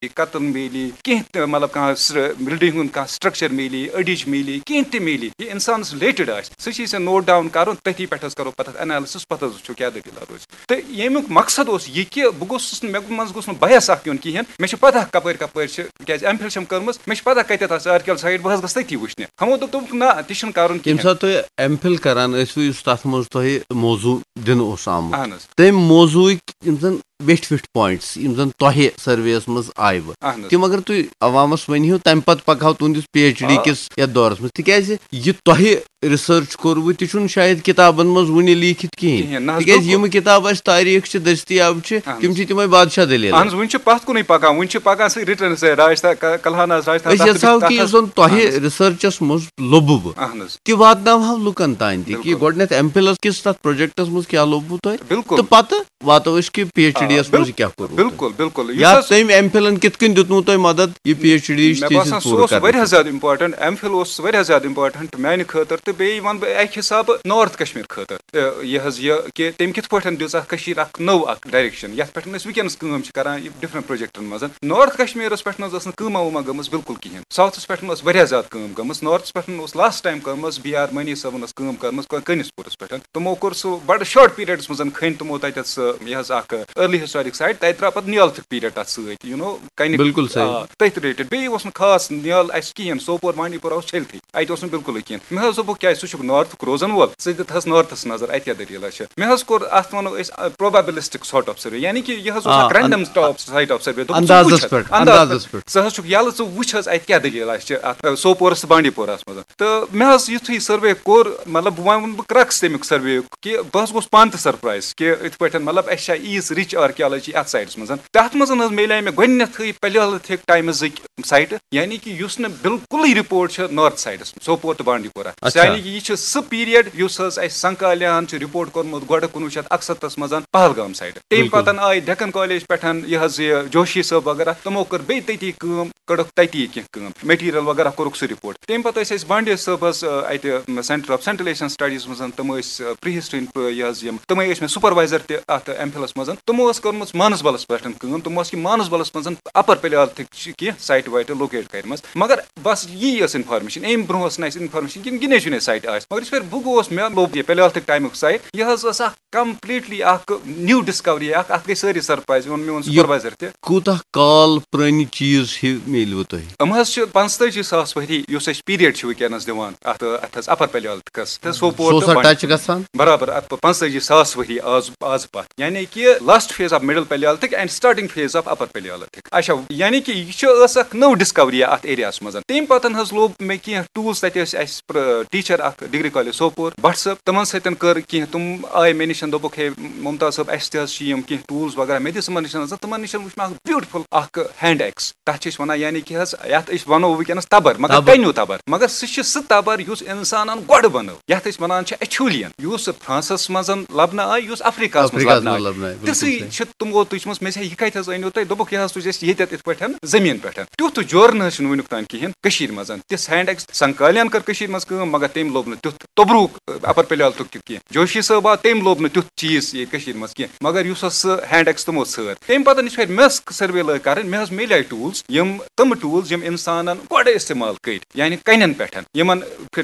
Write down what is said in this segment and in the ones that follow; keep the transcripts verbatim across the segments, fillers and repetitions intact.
کتٕل میلی، کینٛہہ تہِ، مطلب، کانٛہہ بلڈنگ ہُنٛد کانٛہہ سٹرکچر میلی، أڈِج میلی، کینٛہہ تہِ میلی، یہِ انسانس رِلیٹڈ آسہِ، سُہ چھُ أسۍ نوٹ ڈاؤن کرُن، تٔتھی پٮ۪ٹھ حظ کرو پتہٕ اتھ انالسس، پتہٕ حظ وٕچھو کیٛاہ دٔلیٖلہ روزِ۔ تہٕ ییٚمیُک مقصد اوس یہِ کہِ بہٕ گوٚژھُس نہٕ، مےٚ منٛز گوٚژھ نہٕ بایس اکھ یُن کِہینۍ، مےٚ چھِ پتہ کپٲرۍ کپٲرۍ چھِ، کیٛازِ ایم فِل چھَم کٔرمٕژ، مےٚ چھِ پتہ کتٮ۪تھ آسہِ آرکیال سایٹ، بہٕ حظ گژھٕ تٔتی وٕچھنہِ۔ ہمو دوٚپ، دوٚپُکھ، نہ، تہِ چھُنہٕ کرُن ییٚمہِ کِہینۍ۔ ساتہٕ تُہۍ ایم فِل کران ٲسوٕ، یُس تتھ منٛز تۄہہِ موضوع دِنہٕ اوس آمُت، اہن حظ۔ تَمہِ موضوعٕکۍ یِم زَن ویٹھۍ ویٹھۍ پوینٹس، یِم زَن تۄہہِ سرویَس منٛز آیوٕ، اہن حظ۔ تِم اگر تُہۍ عوامَس ؤنۍ ہِو، تَمہِ پَتہٕ پَکہٕ ہاو تُہٕنٛدِس پی ایچ ڈی آ۔ کِس یَتھ دورَس منٛز، تِکیٛازِ یہِ تۄہہِ ریسرچ کوٚروٕ، تہِ چھُنہٕ شاید کِتابَن منٛز وُنہِ لیٖکھِتھ کِہیٖنۍ۔ کِہیٖنۍ، نہ حظ، تِکیٛازِ بِلکُل۔ یِم کِتابہٕ اَسہِ تاریٖخ چھِ، دٔستیاب چھِ، اہن تِم حظ۔ چھِ تِمَے بادشاہ دٔلیٖلہٕ۔ اہن حظ، وُنہِ چھِ پَتھ کُنُے پَکان، وُنہِ چھِ پَکان سُہ رِٹرن سۭتۍ، راج تھا-، ک-، کلہاناس راج تھا-، أسۍ تَتھ یَژھٕ ہاو تَتھ کہِ یُس حظ۔ زَن تۄہہِ اہن حظ۔ ریسرچَس منٛز لوٚبوٕ، اہن حظ۔ تہِ واتناوہاو لُکَن تانۍ تہِ کہِ بِلکُل۔ گۄڈٕنٮ۪تھ ایم فِلَس کِس تَتھ پروجیکٹَس منٛز کیٛاہ لوٚبوٕ تۄہہِ، بِلکُل۔ تہٕ پَتہٕ واتو أسۍ کہِ پی ایچ ڈی یَس آ، منٛز بِل-، کیٛاہ کوٚروٕ تۄہہِ۔ بِلکُل، بِلکُل۔ یُس یا حظ تٔمۍ ایم فِلَن کِتھ کٔنۍ دیُتمُت تۄہہِ مدد یہِ پی ایچ ڈی یِچ مےٚ تھیسِز باسان، سُہ پوٗرٕ اوس کرنہٕ واریاہ خٲطرٕ؟ زیادٕ امپورٹنٹ، ایم فِل اوس واریاہ زیادٕ امپورٹنٹ میانہِ خٲطرٕ، تہٕ بیٚیہِ وَنہٕ بہٕ اَکہِ حسابہٕ نارتھ کشمیر خٲطرٕ، تہٕ یہِ حظ یہِ کہِ تٔمۍ کِتھ پٲٹھۍ دِژ اَتھ کٔشیٖرِ اَکھ نٔو اَکھ ڈایریکشن، یَتھ پٮ۪ٹھ أسۍ وٕنکیٚنَس کٲم چھِ کران، یہِ ڈفرنٹ پروجیکٹن منٛز۔ نارتھ کشمیرَس پٮ۪ٹھ نہ حظ ٲس نہٕ کٲمہ وٲمہ گٔمٕژ بِلکُل کِہینۍ، ساوتھَس پٮ۪ٹھ ٲس واریاہ زیادٕ کٲم گٔمٕژ، نارتھَس پٮ۪ٹھ اوس لاسٹ ٹایم کٔرمٕژ بی آر مٔنی صٲبن ٲس کٲم کٔرمٕژ کٔنِس پوٗرَس پٮ۪ٹھ۔ تِمو کوٚر سُہ بڑٕ شارٹ پیریڈس منٛز، کھٔنۍ تِمو تَتٮ۪تھ سُہ، یہِ حظ، اکھ ارلی ہسٹورک سائٹ، تَتہِ درٛاو پَتہٕ نیالتھُک پیریڈ تَتھ سۭتۍ، یوٗ نو، کَنہِ۔ بِلکُل صحیح۔ آ، تٔتھۍ رِلیٹڈ۔ بیٚیہِ اوس نہٕ خاص نیال اَسہِ کِہینۍ، سوپور بانڈی پورہ اوس چھٔلتھٕے، اَتہِ اوس نہٕ بِلکُلٕے کِہینۍ۔ مےٚ حظ دوٚپُکھ، کیٛازِ، سُہ چھُکھ نارتھُک روزن وول، ژٕ دِتہَس نارتھَس نظر، اَتہِ کیٛاہ دٔلیٖلہ چھِ۔ مےٚ حظ کوٚر اَتھ، وَنو أسۍ، پروبیبلسٹک سارٹ آف سروے، یعنی کہِ یہِ حظ اوس آ، اَکھ random on-, stop site of survey. دوٚپُکھ، ژٕ اندازس وٕچھ حظ، پٮ۪ٹھ، اندازس اندازس پٮ۪ٹھ۔ پٮ۪ٹھ۔ ژٕ حظ چھُکھ یَلہٕ، ژٕ وٕچھ حظ، اَتہِ کیٛاہ دٔلیٖلہ چھِ اَتھ، آ، سوپورَس تہٕ بانڈی پورہَس منٛز۔ تہٕ مےٚ حظ یُتھُے سٔروے کوٚر، مطلب، وۄنۍ وَنہٕ بہٕ کرٛکس تَمیُک سٔروے یُک کہِ بہٕ حظ گوٚوُس پانہٕ تہِ سرپرائز کہِ یِتھ پٲٹھۍ، مطلب، اَسہِ چھا ییٖژ رِچ آرکیالوجی اَتھ سایڈَس منٛز۔ تَتھ منٛز حظ میلیٛاے مےٚ گۄڈٕنیتھٕے پیلیولتھک ٹائمزٕکۍ سائٹہٕ، یعنی کہِ یُس نہٕ بِلکُلٕے رِپورٹ چھِ نارتھ سائڈَس منٛز، سوپور تہٕ بانڈی پورہ۔ اچھا۔ یعنی کہِ یہِ چھِ سُہ پیریڈ یُس حظ اَسہِ سنکالیاہَن چھُ رِپورٹ کوٚرمُت گۄڈٕ کُنوُہ شیٚتھ اَکسَتَتھَس منٛز پہلگام سائڈٕ۔ تَمہِ بِلکُل۔ پَتہٕ آیہِ ڈیکن کالج پٮ۪ٹھ یہِ حظ یہِ جوشی صٲب وغیرہ، تِمو کٔر بیٚیہِ تٔتی کٲم، کٔڑٕکھ تَتی کینٛہہ کٲم، مٹیریل وغیرہ کوٚرُکھ سُہ رِپورٹ۔ تَمہِ پَتہٕ ٲسۍ أسۍ بانڈی صٲبَس، آ، اَتہِ، م، centre of central Asian studies منٛز، تِم ٲسۍ، آ، پری ہسٹری ہُنٛد، آ، یہِ حظ یِم، تِمَے ٲسۍ مےٚ سپروائزر تہِ اَتھ ایم فِلَس منٛز۔ تِمو ٲس کٔرمٕژ مانسبلَس پٮ۪ٹھ کٲم، تِمو ٲس کہِ مانسبلَس منٛز اپر پیلیولتھک چھِ کینٛہہ سائٹہٕ وائٹہٕ لوکیٹ کَرِمَژٕ۔ مگر بس یی ٲس انفارمیشن، اَمہِ برونٛہہ ٲس نہٕ اَسہِ انفارمیشن کِنہٕ گِنے چُنے سائٹ آسہِ۔ مگر یُس پٮ۪ٹھ بہٕ گوس، مےٚ لوٚب یہِ پیلیولتھک ٹائمُک سائٹ، یہِ حظ ٲس اَکھ کمپلیٹلی اَکھ نیو ڈسکوری اَکھ، اَتھ گٔے سٲری سرپرائز، ووٚن میون یہِ سپروائزر تہِ۔ کوٗتاہ کال پرٛٲنہِ چیٖز ہیوٗ میلیوٕ تۄہہِ؟ یِم حظ چھِ پانٛژتٲجی ساس ؤری، یُس أسۍ پیریڈ چھِ وٕنکیٚنَس دِوان اَتھ، اَتھ حظ اَپر پیلیولتھکَس، تہٕ سوپور سُہ تہٕ اوسا بانڈی۔ ٹچ گژھان؟ برابر، اَتھ پانٛژتٲجی ساس ؤری آز، آز پَتھ، یعنی کہِ last phase of middle Palaeolithic and starting phase of upper Palaeolithic. اچھا، یعنی کہِ یہِ چھِ، ٲس اَکھ نٔو ڈسکوری اَتھ ایریاہَس منٛز۔ تَمہِ پَتہٕ حظ لوٚب مےٚ کینٛہہ ٹولز، تَتہِ ٲسۍ اَسہِ پرٛ-، ٹیٖچر اَکھ ڈگری کالج سوپور، بٹ صٲب، تِمَن سۭتۍ کٔر کینٛہہ، تِم آے مےٚ نِش، دوٚپُکھ، ہے ممتاز صٲب، اَسہِ تہِ حظ چھِ یِم کینٛہہ ٹولز وغیرہ۔ مےٚ دِژ تِمَن نِش نظر، تِمَن نِش وٕچھ مےٚ اَکھ بیوٹیفل اَکھ ہینڈ ایکس، تَتھ چھِ أسۍ وَنان، یعنی کہِ حظ، یَتھ أسۍ وَنو وٕنکیٚنَس تَبَر، مگر تَبَر۔ کَنیوٗ تَبَر، مگر سُہ چھِ سُہ تَبَر یُس اِنسانَن گۄڈٕ بَنٲو، یَتھ أسۍ وَنان چھِ اچھولیَن، یُس فرانسَس منٛز لَبنہٕ آے، یُس افریقہَس منٛز افریقہَس لَبنہٕ منٛز آے۔ لَبنہٕ آے، بِلکُل تِژھٕے صحیح۔ چھِ تِمو تُجمٕژ۔ مےٚ چھِ، یہِ کَتہِ حظ أنِو تُہۍ؟ دوٚپُکھ، یہِ حظ تُج اَسہِ ییٚتٮ۪تھ یِتھ پٲٹھۍ زٔمیٖن پٮ۪ٹھ۔ تیُتھ جورٕ نہ حظ چھُنہٕ وٕنیُک تام کِہیٖنۍ کٔشیٖرِ منٛز۔ تہِ سینڈ ایکس سنکالیَن کٔر کٔشیٖرِ منٛز کٲم، مگر تٔمۍ لوٚب نہٕ تیُتھ توٚبروٗک، اپر پیلیولتھُک تہِ کینٛہہ۔ جوشی صٲب آو، تٔمۍ لوٚب نہٕ تیُتھ چیٖز ییٚتہِ کٔشیٖرِ منٛز کینٛہہ، مگر یُس حظ سُہ ہینڈ ایکس تِمو ژھٲر۔ تَمہِ پَتہٕ یُس وۄنۍ مےٚ ٲس سٔروے لٲگۍ کَرٕنۍ، مےٚ حظ میلیٛاے ٹوٗلز، یِم تِم ٹوٗلز یِم اِنسانَن گۄڈٕ استعمال کٔرۍ، یعنی کَنٮ۪ن پٮ۪ٹھ، یِمَن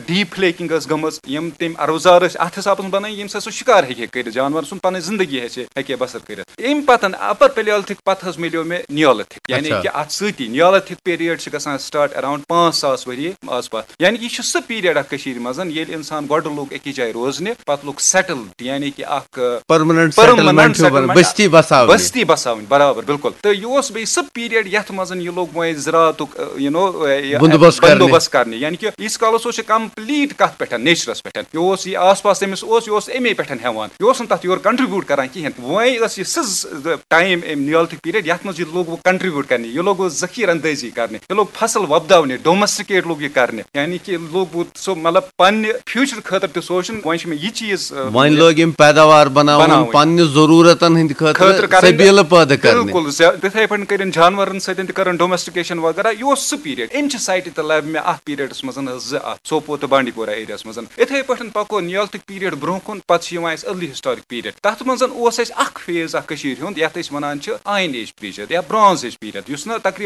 ڈیٖپ فلیکنگ ٲس گٔمٕژ، یِم تٔمۍ اوزار ٲسۍ اَتھ حسابَس منٛز بَنٲوۍ، ییٚمہِ سۭتۍ سُہ شِکار ہیٚکہِ ہے کٔرِتھ، جانوَر سُنٛد پَنٕنۍ زِندگی ہیٚکہِ ہے بسر کٔرِتھ۔ اَمہِ پَتہٕ، اَپر پیلیولتھک پَتہٕ حظ میلیو مےٚ نیولتھک، یعنی اچھا۔ کہِ اَتھ سۭتی نیولتھک پیریڈ چھِ گژھان سٹارٹ اراؤنڈ پانٛژھ ساس ؤری آس پاتھ۔ یعنی کہِ یہِ چھُ سُہ پیریڈ اَکھ کٔشیٖرِ منٛز، ییٚلہِ اِنسان گۄڈٕ لوٚگ أکِس جایہِ روزنہِ، پَتہٕ لوٚگ سیٹل، یعنی کہِ اَکھ، پرماننٹ پرماننٹ سیٹلمنٹ ہیوٗ بنان، سیٹلمنٹ، بستی بساونہِ۔ بستی بساوٕنۍ، برابر، بِلکُل۔ تہٕ یہِ اوس بیٚیہِ سُہ پیریڈ یَتھ منٛز یہِ لوٚگ وۄنۍ زِراعتُک، یہِ نو، یہِ بندوبست کرنہِ۔ بندوبست کرنہِ۔ یعنی کہِ ییٖتِس کالَس اوس یہِ کمپلیٖٹ کَتھ پٮ۪ٹھ، نیچرَس پٮ۪ٹھ۔ یہِ اوس یہِ آس پاس تٔمِس اوس، یہِ اوس اَمے پٮ۪ٹھ ہٮ۪وان۔ یہِ اوس نہٕ تَتھ یورٕ کنٹریبیوٗٹ کران کِہینۍ۔ وۄنۍ ٲس یہِ سٕژ ٹایم اَمہِ نیولتھک پیریڈ، یَتھ منٛز یہِ لوٚگ وۄنۍ کنٹریبیوٗٹ کرنہِ، یہِ لوٚگ وۄنۍ ذخیٖرٕ اندٲزی کرنہِ، یہِ لوٚگ فصل وۄپداونہِ، ڈومیسٹِکیٹ لوٚگ یہِ کرنہِ۔ یعنی کہِ لوٚگ وۄنۍ سُہ، مطلب، پننہِ فیوچر خٲطرٕ تہِ سونٛچُن۔ وۄنۍ چھُ مےٚ یہِ چیٖز، آ، وۄنۍ لوگ أمۍ پیداوار بناوُن، بناوٕنۍ۔ پننہِ ضروٗرتن ہٕنٛدِ خٲطرٕ خٲطرٕ کرٕنۍ۔ سبیٖلہٕ پٲدٕ کرنہِ۔ بِلکُل، زیا-، تِتھے پٲٹھۍ کٔرِن جانورن سۭتۍ تہِ کرن ڈومیسٹِکیشن وغیرہ۔ یہِ اوس سُہ پیریڈ، أمۍ چہِ سایٹہِ تہِ لبہِ مےٚ اتھ پیریڈس منٛز حظ زٕ اتھ، سوپور تہٕ بانڈی پورہ ایریاہس منٛز۔ اِتھے پٲٹھۍ پکو نیولتھک پیریڈ برونٛہہ کُن، پتہٕ چھُ یِوان اَسہِ ارلی ہسٹورک پیریڈ۔ تتھ منٛز اوس اَسہِ اکھ فیز اکھ کٔشیٖرِ ہُنٛد، یَتھ أسۍ وَنان چھِ آیِن ایج پیٖریَڈ یا برٛانٛز ایج پیٖریَڈ، یُس نہٕ تقریٖباً